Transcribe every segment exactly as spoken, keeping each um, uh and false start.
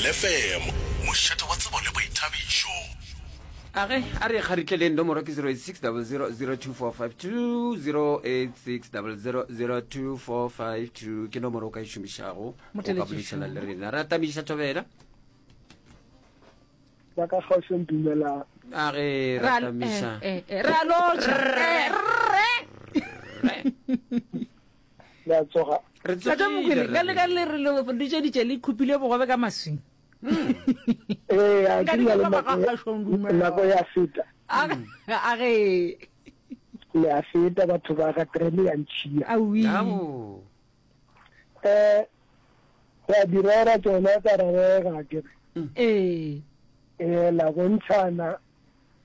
Thobela F M, mošate wa tsebo le boithabišo. A ge a re kgaritleleng, nomoro ke zero eight six zero zero zero two four five two, zero eight six zero zero zero two four five two ke nomoro o ka e šomišago o ka boledišana le rena. Re atamiša, Thobela. Ba ka kgauseng, dumela. A ge re atamiša. Eh, eh, re a lotšha. Eh, rre. Le a tsoga? Re Tata tsogile. Mokwele, ka Rre. le ka le re le ditšeditše le khupile bogobe ka maswing. Ee, a Nka ke di rialo. ba Nako ga kgašong, dumela. nako ya feta. A a ge. Le a feta, batho ba ga trene ya ntšhia. Awi. Ao. um re a di rera tsona, tsa rerega ke re. Ee. um la bontšhana,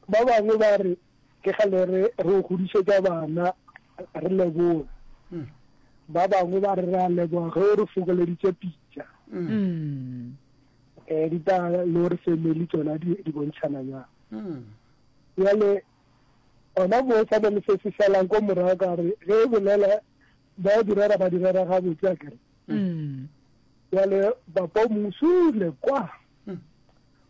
ba bangwe ba re ke gale re re o godišetša bana, re leboga. Ba bangwe ba re re a leboga ge o re fokoleditše pitša. Mm. um ditaba le gore family tsona di di bontšhana jang. Mm. Bjale ona mo sa le se se šalang ko morago, ka re ge e bolela ba di rera, ba di rera gabotse a kere. Mm. Bjale papa o mosule kwa,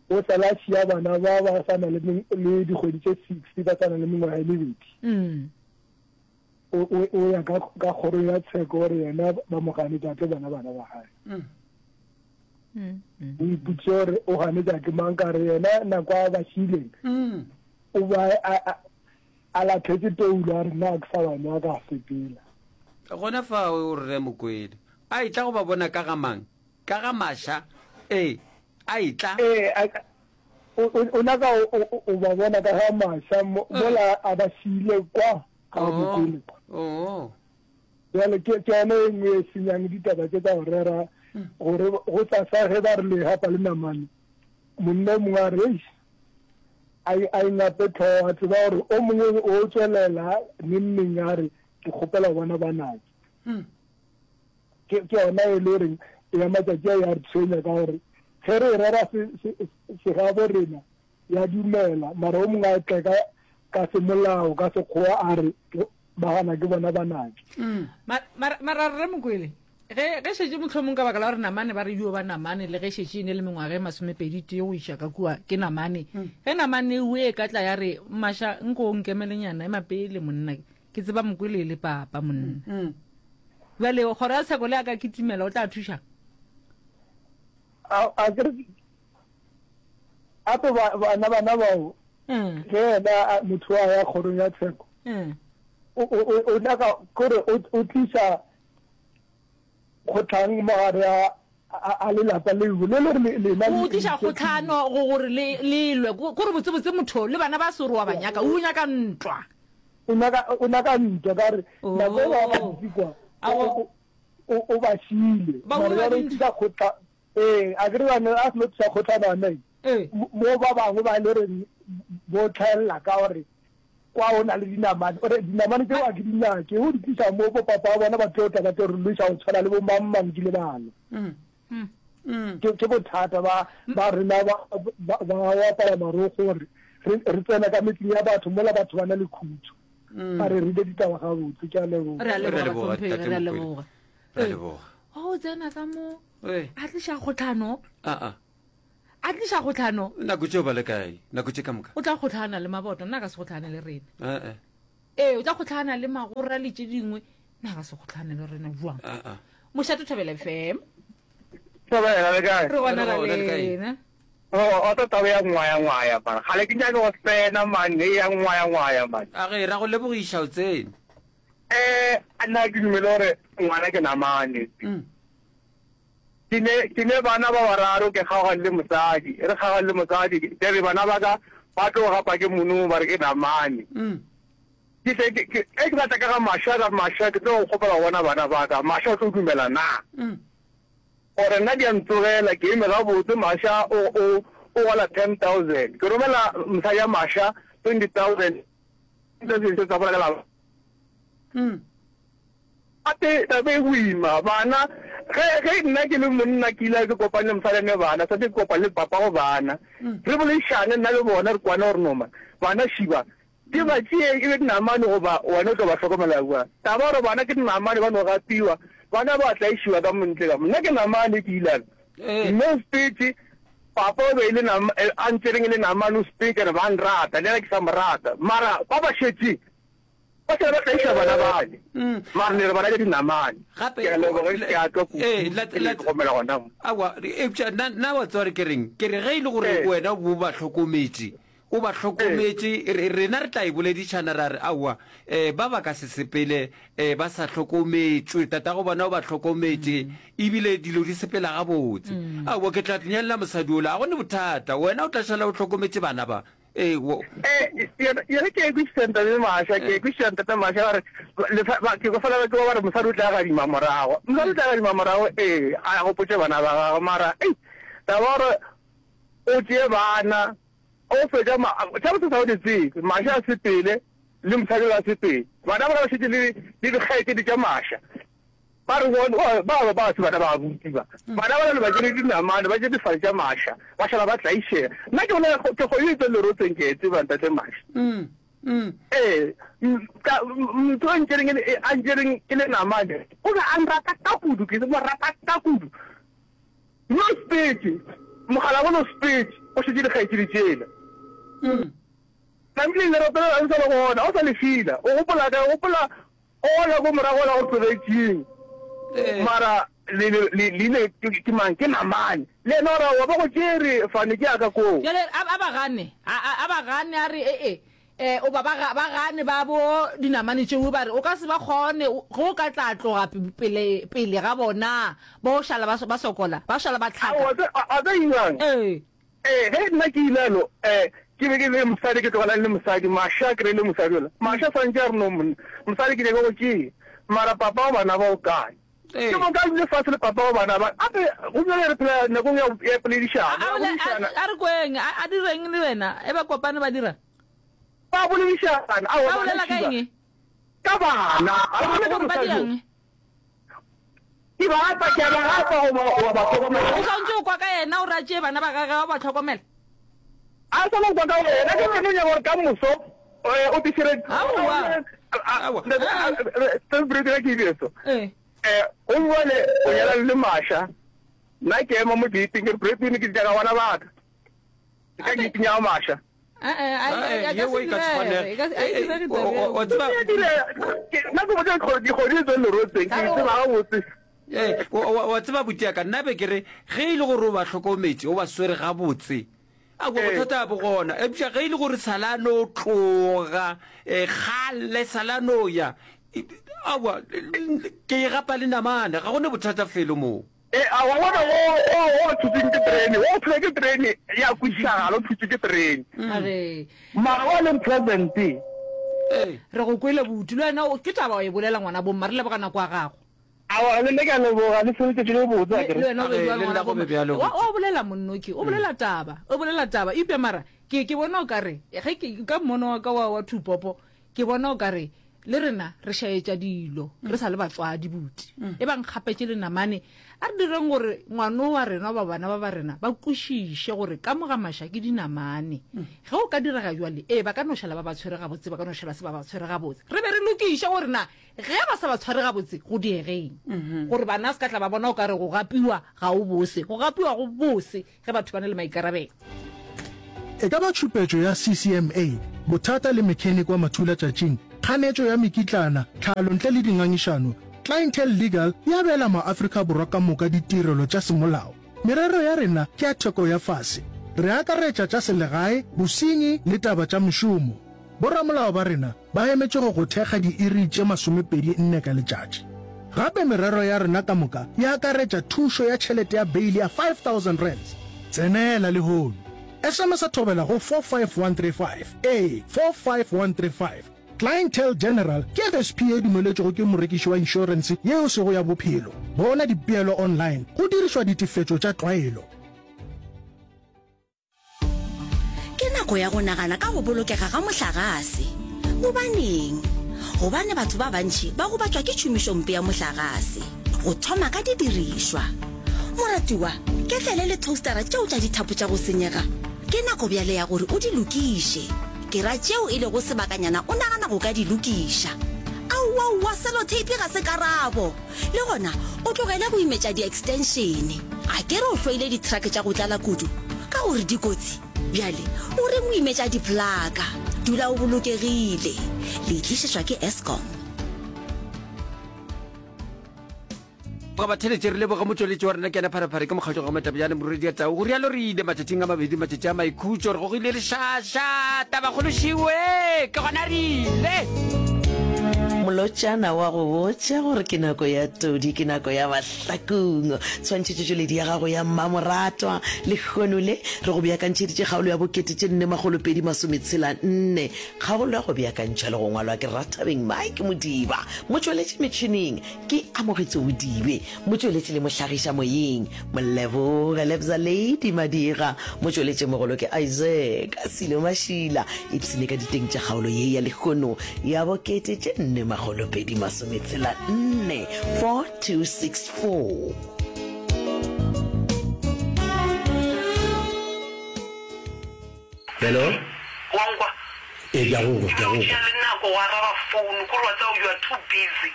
o sala a šia bana ba ba sa na le meng- le dikgwedi tše six, ba sa na le mengwaga e mebedi. Mm. o o- o ya ka ka kgoro ya tsheko gore yena ba mo ganetša tlo bona bana ba gae. Mm. Mm. Mm. O ipotse gore o ganetša ke mang, ka re yena nako a ba šileng Mm. o ba a- a- a latlhetse toulo, a re nna a ke sa ba nyaka, a sepela. Gona fa o rre Mokwele a etla go ba bona ka ga mang, ka ga maša, ee, a etla. Ee, a- o o- o nyaka o- o o ba bona ka ga maša mo- mola a ba šile kwa ga Mokwele kwa. Oh. Jale ke ke yone e nngwe e senyang ditaba tse tsa go rera, gore go tsasa ge ba re legapa le namane, monna o mongwe a re, "Eish," a e a e ngape tlhogo, a tseba gore o mongwe o tswelela neng neng a re ke kgopela go bona banake. ke ke yona e le goreng ya matšatši a ya re tshwenya, ka gore ge re e rera se- se- segabo rena ya dumela, mara o mongwe a tle ka ka semolao, ka sekgowa, a re ke- ba gana ke bona banake. Ma- mara mara rre Mokwele, ge ge šetše mohlomong ka baka la gore namane ba re yo ba namane, le ge šetše e ne le mengwaga e masomepedi tee go iša ka kua, ke namane. Ge namane o e ka tla ya re, "Maša, nko o nkemelenyana, ema pele monna, ke tseba Mokwele e le papa monna," bjale kgoro ya tsheko le a ka kitimela, o tla thuša? A a ke re ape ba- bana bana bao Mm, ge yena a- motho a ya kgorong ya tsheko, mm. o o- o- o nyaka kore o o tliša kgotlhang mogare a a a lelapa leo le le gore lena. O tliša kgotlhano go gore le le lwe, ko gore botsebotse motho le bana ba se gore wa ba nyaka, o nyaka ntwa. O nyaka o nyaka ntwa, ka re Oh. nako e ba ba kwa Ao. o o o ba šile. Ba mara bua jwale o dintwa. tlisa kgotla, ee, a ke re bane a seno tlisa kgotlhano Ee. mo ba bangwe ba le reng bo tlhaelela ka gore kwa o na le dinamane, ore dinamane tseo a ke di nyake, o di tlisa mo, bo papa wa bona ba tlo tla ba tlo re lwesa go tshwana le bo mang mang ke le bana. Mm. ke ke bothata ba ba rena ba ba ba go apara marokgo, gore re re tsena ka metseng ya batho mola batho ba na le khutso. A re rile ditaba gabotse, ke a leboga. Re a Re a leboga, leboga, bahlomphegi, Tate re a Mokwele. leboga. Re a leboga. O tsena ka mo Ee. a tliša kgotlhano. A a. A tliša kgotlhano. Nako tšeo ba le kae nako tše ka moka? O tla kgotlhana le maboto, nna a ka se kgotlhane le rena. Ee. Ee, o tla kgotlhana le magora le tše dingwe, nna a ka se kgotlhane le rena jwang? A a. Mošate, Thobela F M. Thobela, le kae? Re gona. Re Ra gona, le kae? lena? O o tlo taba ya ngwaya ngwaya man. Gale ke nyake go tsena man, e ya ngwaya ngwaya man. A ge ra go lebogiša o tsene. Eh, nna ke dumele gore ngwana ke namane. Mm. Ke ne ke ne bana ba bararo, ke kgaogane le mosadi. Re kgaogane le mosadi, ke re bana ba ka ba tlo gapa ke mono, ba re ke namane. Mm. Ke tle ke ke e ke batla ka ga Masha, ka Masha ke tlo kgopela go bona bana ba ka. Masha o tlo dumela na? Mm. Gore nna di a ntsogela, ke eme gabotse, Masha o o o gola ten thousand. Ke romela mosadi ya Masha twenty thousand. Se se tsa bolela la. Mm. Ate taba e boima bana, ge ge nna ke le monna ke ile ke kopane le mosadi ne bana, santse ke kopane le papa go bana, re boledišane nna le bona, re kwane gore no man, bana šiba ke ba tšee e be dinamane, goba wena o tlo ba hlokomela bjang? Taba gore bana ke dinamane, ba no gapiwa, bana ba tlaišiwa ka montle ka mo, nna ke namane ke ilana. Ee. Mme o sepetse Papa o be e le nama, a ntšereng e le namane o speaker ba nrata, le yena ke sa mo rata. Mara ba ba šetše, ba šala ba tlaiša bana bale. Mara ne re ba raka dinamane. Gape, Ke a leboga, ke a tšwa kudu, ee, la, ke la, le tlhokomela gona mo. Aowa, eupša nna, nna wa tseba gore ke reng? Ke re ge e le gore Ee. wena o ba hlokometše, o ba hlokometše, re, rena re tla e boledišana ra re, aowa, um ba ba ka se sepele um ba sa hlokometšwe, tatago bona o ba hlokometše, ebile dilo di sepela gabotse. Aowa, ke tla nyalela mosadi ola, ga go ne bothata, wena o tla šala o hlokometše bana ba. Ee, wo. Ee, yena, yena ke e kwešiša Ntate Masha, ke e kwešiša Ntate Masha, ba re, lefa, ba, ke kwa fela ba ke ba re mosadi o tla gadima morago. Mosadi o tla gadima morago, ee, a gopotše bana ba gagwe, mara, ei, taba ya gore o tšee bana, O fetša ma, tša botse sa o di tsebe. Maša a sepele, le mosadi yola a sepele. Bana bala ba šetše le, le dikgaetšedi tša Maša. Ba re bona, ba, ba, ba se bana ba abuti ba. Bana bala le ba tšere dinamane, ba tšere difale tša Maša, ba šala ba tlaišega. Nna ke bolela, ke kgomo e tswang lerotseng, ke e tseba, Ntate Maša. Ee, ka, motho a ntšereng e le, a ntšereng e le namane, o be a nrata ka kudu, ke mo rata ka kudu. Mme o sepetše, mokgalabolo o sepetše, o šetše dikgaetšedi tšela. Tlamehile lerato lela le sa le gona, o sa le fila. O gopola kae? O gopola ola ko morago ola go tlogetšeng. Mara le, le, le, le ile ke, ke mang? Ke namane. Le yena o ra, wa ba go tšere, fane ke ya ka koo. Bjale a, a ba gane, a, a, a ba gane, a re, E-e, E, o ba ba ga, ba gane ba bo dinamane tšeo, ba re, O ka se ba kgone, ge o ka tla tloga pele, pele ga bona, ba o šala ba, ba sokola, ba šala ba hlaka. Aowa, tse, a, a tse irang? Ee. Ee, ge nna ke ilalo, e, ke be ke le mosadi, ke tlogelane le mosadi, Masha a kry-ile mosadi yola. Masha swantše a re, No, monna, mosadi ke nyaka go tšea, mara papa wa bana ba o kae? Ee. Ke moka a dule fase le papa wa bana ba. Gape, go bjale re phela nakong ya, ya A, poledišano, a ya bole, a, boledišana. a re kweng, a, a direng le wena, e ba kopane ba dira? Ba boledišana. Aowa, Ba bana bolela ka šiba. eng? Ka bana. Ga ba bolele ka Gore ba mosadi yo. dirang? Ke ba gapa, ke a ba gapa goba wa ba hlokomela. O swanetše go kwa ka yena gore a tšee bana ba gagwe a ba hlokomela. A swanetše go kwa ka wena. Ke no nyaka gore ka moso o te šireletše. Aowa. Aowa. Ke ke dire so. Ee. Eh, o bjale o nyalane le Masha. Nna ke ema mo gate-ing ke re Bretwin ke tšaka bana ba ka. Ke ka gate-ing ya Masha. Yeo e ka se kgonege. Wa tseba. Nna ke botša dikgodi tse lerotseng, ke tseba gabotse. Wa tseba buti ya ka, nna be ke re ge e le gore o ba hlokometše, o ba swere gabotse, aowa bothata ga bo gona. Eupša ge e le gore sala no tloga kgale, sala no ya, aowa ke e gapa le namane, ga go ne bothata felo moo. E, a wa bona wo, wo, wo o thutšweng ke terene, wo o thulwa ke terene, ya kwešišagala, o thutšwe ke terene. A re. Mara wa leng present. Ee. Re go kwele buti, le wena o, ke taba wa e bolela ngwana bomma, re leboga nako ya gago. Aowa, le nna ke a leboga, le se letšatši le botse, Le, akere. le wena o be A re, bjalo le ngwana nna go be bomma. bjalo, Wa, buti. wa bolela monnoki, o bolela taba, o bolela taba, eupša mara ke, ke bona o ka re, ge ke, ka mmono wa ka wa, wa thupopo, Ke bona o ka re le rena re šaetša dilo re sa le batswadi buti. E bang kgapetše le namane, a re direng gore ngwano wa rena goba bana ba ba rena ba kwešiše gore ka mo ga maša ke dinamane. Ge o ka direga bjale, ee, ba ka no šala ba ba tshwere gabotse, ba ka no šala se ba ba tshwere gabotse. Re be re lokiše gore na ge ba sa ba tshware gabotse go diegeng, gore bana se ka tla ba bona o ka re go gapiwa ga o bose. Go gapiwa go bose ge batho ba na le maikarabelo. E ka ba tšhupetšo ya C C M A, bothata le mechanic wa mathulatšatšing, kganetšo ya mekitlana, tlhalo ntle le dingangišano, Clientele Legal e abela maAfrika Borwa ka moka ditirelo tša semolao. Merero ya rena ke ya theko ya fase. Re akaretša tša selegae, bosenyi le taba tša mešomo. Boramolao ba rena ba emetše go go thekga diiri tše masomepedi nne ka letšatši. Gape merero ya rena ka moka e akaretša thušo ya tšhelete ya beili ya five thousand rands. Tsenela lehono. S M S thobela go four five one three five, ee, four five one three five. Clientele General ke F S P ye e dumeletšwego ke morekiši wa inšorense ye e sego ya bophelo. Bona dipeelo online go dirišwa ditefetšo tša tlwaelo. Ke nako ya go nagana ka go bolokega ga mohlagase. Gobaneng? Gobane batho ba bantši ba gobatšwa ke tšhomišompe ya mohlagase, go thoma ka didirišwa. Moratiwa, ketlele le toastara tšeo tša dithapo tša go senyega, ke nako bjale ya gore o di lokiše. Ke ra tšeo e lego sebakanyana o nagana go ka di lokiša. Aowaowa, seloteipi ga se karabo! Le gona o tlogele go imetša di-extension. A ke re o hloile di-truck tša go tlala kudu? gore dikotsi? Bjale o reng o imetša diplaka? Dula o bolokegile. Le tlišetšwa ke Eskom. Ga ba theletše re leboga motšweletši wa rena ke yena Pharephare ke mokgatšo ga Matabjane Morwedi ya Tau go rialo re ile matšatšing a mabedi matšatši a maikhutšo re gogile lešaša tabakgolo šiwe ke gona re ile. Molotšana wa go botša gore ke nako ya todi, ke nako ya mahlakong. Tshwantšhetšotšweledi ya gago ya mmamoratwa lehono le re go beakantšheditše kgaolo ya bokete tše nne makgolo pedi masometshela nne. Kgaolo ya go beakantšhwa le go ngwalwa ke Rathabeng Mike Modiba. Motšweletši metšhineng ke Amogetso Bodibe. Motšweletši le mohlagiša moyeng Moleboge Lebza Lady Madira. Motšweletšimogolo ke Isaac Silo Mašila. Ipshine ka diteng tša kgaolo ye ya lehono ya bokete tše nne makgolo pedi masometshela nne, four two six four. Hello? Wa nkwa? Ee, ke a go kwa, ke a go Ke kwa. tšea le nako go araba phone, kore wa tseba you are too busy.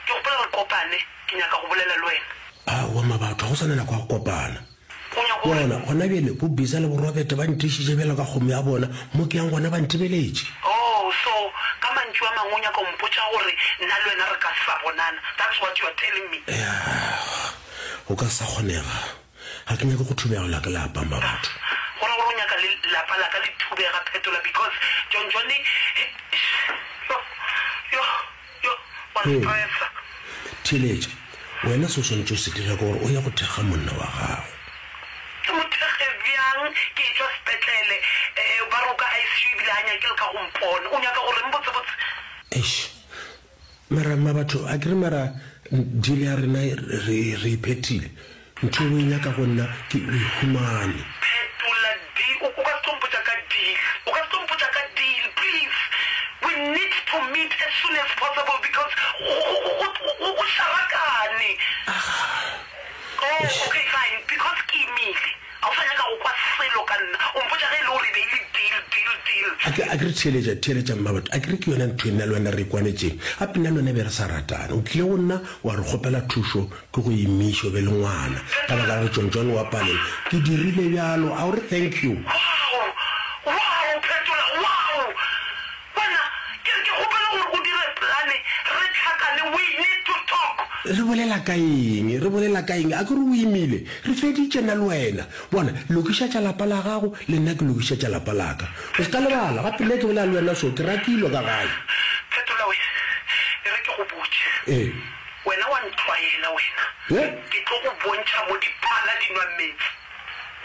Ke kgopela re kopane, ke nyaka go bolela le wena. Aowa Mabatho, ga go sa na nako ya go kopana. O nyaka gore. Bona, gona bjale bo Bisa le bo Robert ba ntišitše bjalo ka kgomo ya bona, mo ke yang gona ba ntebeletše. Oh, so ka mantšu a mangwe o nyaka go mpotša gore nna le wena re ka se sa bonana, that's what you are telling me? Yah, go ka se sa kgonega. Ga ke nyake go thubegelwa ke lapa, Mmabatho. Go ra gore o nyaka le lapa la ka le thubega, Phetola, because John Johnny, yo, yo. Yo, wa nstressa. Theeletša, wena se o swanetše go se dira ke gore o ye go thekga monna wa gago. Ke mo thekge bjang? Ke etšwa sepetlele, eh, ba re o ka I C U ebile ga nyake le ka go mpona. O nyaka go reng botsebotse? Eish, mara mmabatho, akere mara deal ya rena re, re e phethile. Ntho e o e nyaka go nna ke o e humane. Phetola deal, o, o ka se tlo mpotša ka deal. O ka se tlo mpotša ka deal, please. We need to meet as soon as possible because go, go, go, go, go, go šarakane. Oh, okay, fine, because ke imile. Ga o sa nyaka go kwa selo ka nna. O mpotša ge e le gore e be e le deal, deal, deal. A ke, a ke re theeletša, theeletša mmabatho, a ke re ke yona ntho e nna le wena re e kwanetšeng. Gape nna le wena be re sa ratane. O tlile go nna wa re kgopela thušo ke go imiše o be le ngwana. Ka baka la gore John John wa palelwa. Ke dirile bjalo, a o re thank you? Wow! Wow, Phetola, wow! Wena, ke re ke kgopela gore o dire plane, re hlakane, we need to talk. Re bolela ka eng? Re bolela ka eng? A ke re o imile? Re feditše nna le wena. Bona, lokiša tša lapa la gago, le nna ke lokiša tša lapa la ka. O se ka lebala, gape nna ke bolela le wena so, ke rakilwe ka gae. Phetola we, e re ke go botše. Ee. Wena wa ntlwaela wena. He? Ke tlo go bontšha mo diphala di nwa meetse.